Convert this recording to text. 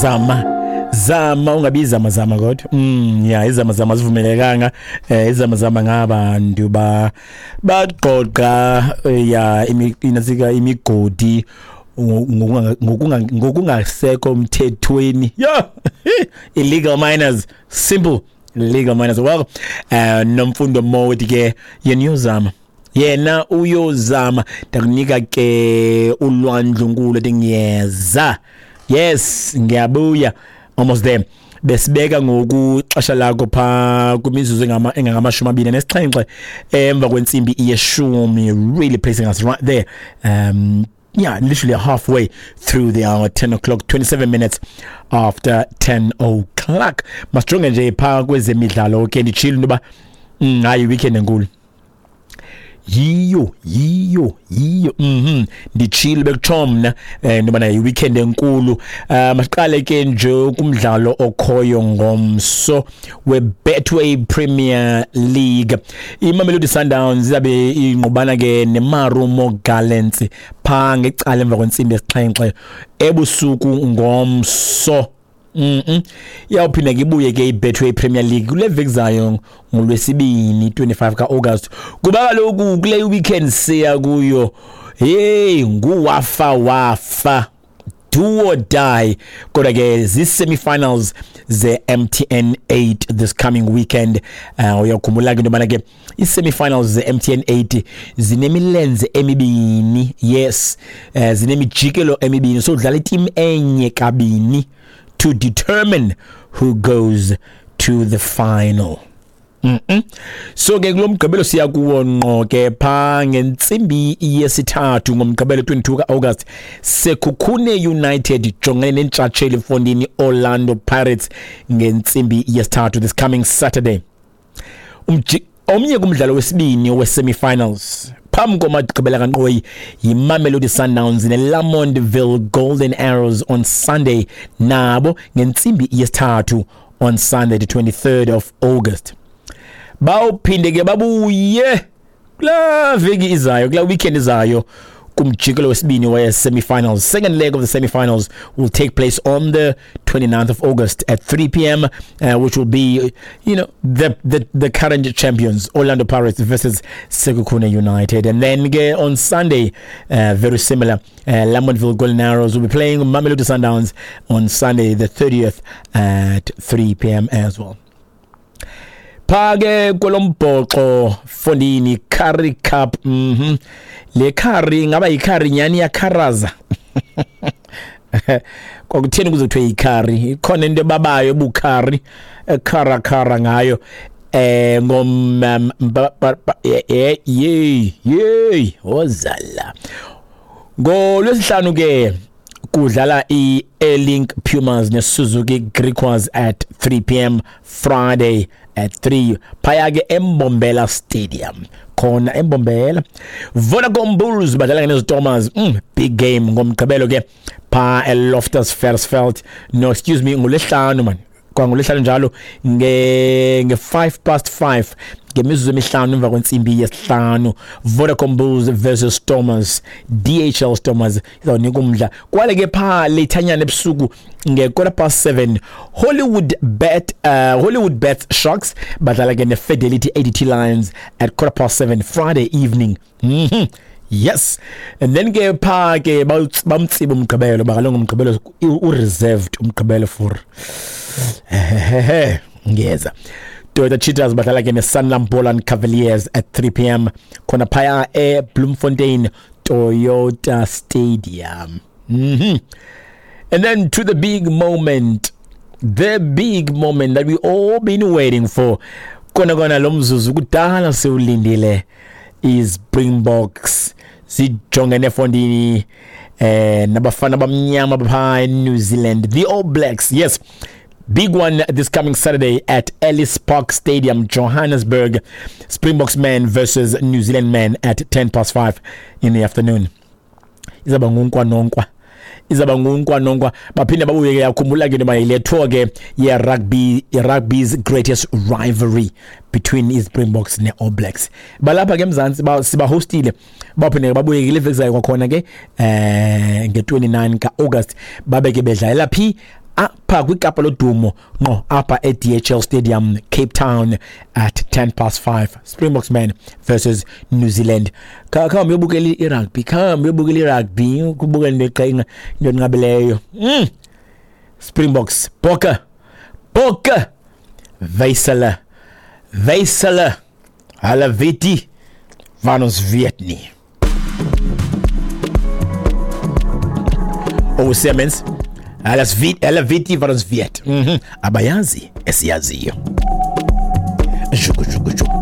Zama zama, ungabi zama zama kodwa ya, izama zama zivumelekanga. Izama zama ngabantu ba bagqoqa ya inasika imigodi ngokungasekho mthethweni, yo, illegal miners, simple, illegal miners. Well, Nomfundo Modi ke yena uyozama, yena uyozama. Ndakunika ke ulwandlunkulu ethi ngiyeza, yes, ngiyabuya, almost there. Besibeka ngoku xesha lakho pha kwimizuzu engangama-27 emva kwentsimbi yeshumi, really placing us right there, yeah, literally halfway through the hour, 10 o'clock, 27 minutes after 10 o'clock. Masijonge nje pha kwezemidlalo ke. Nditshilo into yoba hayi, weekend enkulu yiyo, yiyo, yiyo. Nditshilo, bekutsho mna into yobana yi-weekend enkulu. Masiqale ke nje kumdlalo okhoyo ngomso we-Betway Premier League. IMamelodi Sundowns izabe ingqubana ke neMarumo Gallants phaa ngecala emva kwentsimbi yesixhenxe ebusuku ngomso. Iyawuphinda ke ibuye ke iBetway Premier League kule veki zayo ngolwesibini 25 kaAugust, kuba kaloku kule weekend siya kuyo, hey, nguwafa wafa, do or die. Kodwa ke zii-semi-finals ze-MTN 8 this coming weekend. Uyakhumbula ke into yobana ke ii-semi-finals ze-MTN 8 zinemilenze emibini, yes, zinemijikelo emibini, so udlala iteam enye kabini to determine who goes to the final. So ke kulo mgqibelo siya kuwo ngqo ke pha ngentsimbi yesithathu ngomgqibelo 22 kaAugust, Sekhukhune United ijongene nentshatsheli mfondini Orlando Pirates ngentsimbi yesithathu this coming Saturday. Omnye kumdlalo wesibini we-semi-finals phambi komagqibela kankqoyi yiMamelodi Sundowns neLamontville Golden Arrows on Sunday, nabo ngentsimbi yesithathu on Sunday the 23rd of August. Bawuphinde ke babuye kulaa veki izayo, kulaa weekend izayo, kumjikelo wesibini we-semi-finals. Second leg of the semi-finals will take place on the 29th of August at 3 p.m., which will be the current champions Orlando Pirates versus Sekhukhune United. And then ke on Sunday, very similar, Lamontville Golden Arrows will be playing Mamelodi Sundowns on Sunday the 30th at 3 p.m. as well. Pha ke kwelombhoxo fondini, Currie Cup. Le curry ingaba yicurry nyani, yakharaza. Kwakutheni kuze kuthiwe yicurry? Ikhona into ebabayo ebucurry, ekhara khara ngayo. Ngom ye ye ozala ngolwesihlanu ke kudlala i-Airlink Pumas neSuzuki Griquas at 3 p.m. Friday at 3 phaya ke eMbombela Stadium, khona eMbombela. Vodacom Bulls badlala neZtormers, big game ngomgqibelo ke pha eLoftus Versfeld. No, excuse me, ngolwesihlanu man, kwangolwesihlanu njalo nge 5 past 5, ngemizuzu emihlanu emva kwentsimbi yesihlanu, Vodacom Bulls versus Stormers, DHL Stormers, izawunika umdla. Kwale ke pha lethanyana ebusuku nge-7:15, Hollywood Bet Sharks badlala ke ne-Fidelity ADT Lions at 7:15 Friday evening. Yes, and then ke pha ke bamtsiba umgqibelo bakalongo, umgqibelo u-reserved, umgqibelo for ngiyeza. Toyota Cheetahs badlala ke ne-Sanlam Boland Cavaliers at 3 p.m. khona phaya eBloemfontein Toyota Stadium. And then to the big moment, the big moment that we all been waiting for. Kona kona lo mzuzu kudala siwulindile, iSpringboks zijongene fondini nabafana bamnyama pha eNew Zealand, the All Blacks. Yes, big one this coming Saturday at Ellis Park Stadium, Johannesburg. Springboks men versus New Zealand men at 10 past 5 in the afternoon. Izaba ngunkwa nonkwa, izaba ngunkwa nonkwa. Baphinde babuye ke. Yakhumbula ke noma yile tour ke ye-rugby, rugby's greatest rivalry between iSpringboks ne-All Blacks. Balapha ke eMzantsi, sibahostile. Baphinde ke babuye ke le veki zayo kwakhona ke nge-29 ka-August, babe ke bedlalela phi? Apha kwiKapa lodumo ngqo apha e-DHL Stadium, Cape Town, at 5:10, Springboks men versus New Zealand. Khawuhambe uyobukela irugby, khawuhambe uyobukela irugby, ukubukela into eqenga, into enqabileyo. Springboks, Bokke, Bokke, wys hulle, wys hulle, hulle weet nie van ons weet nie. Oh, sê mens, hulle weet nie wat ons weet. Abayazi esiyaziyo. Shuku, shuku, shuku.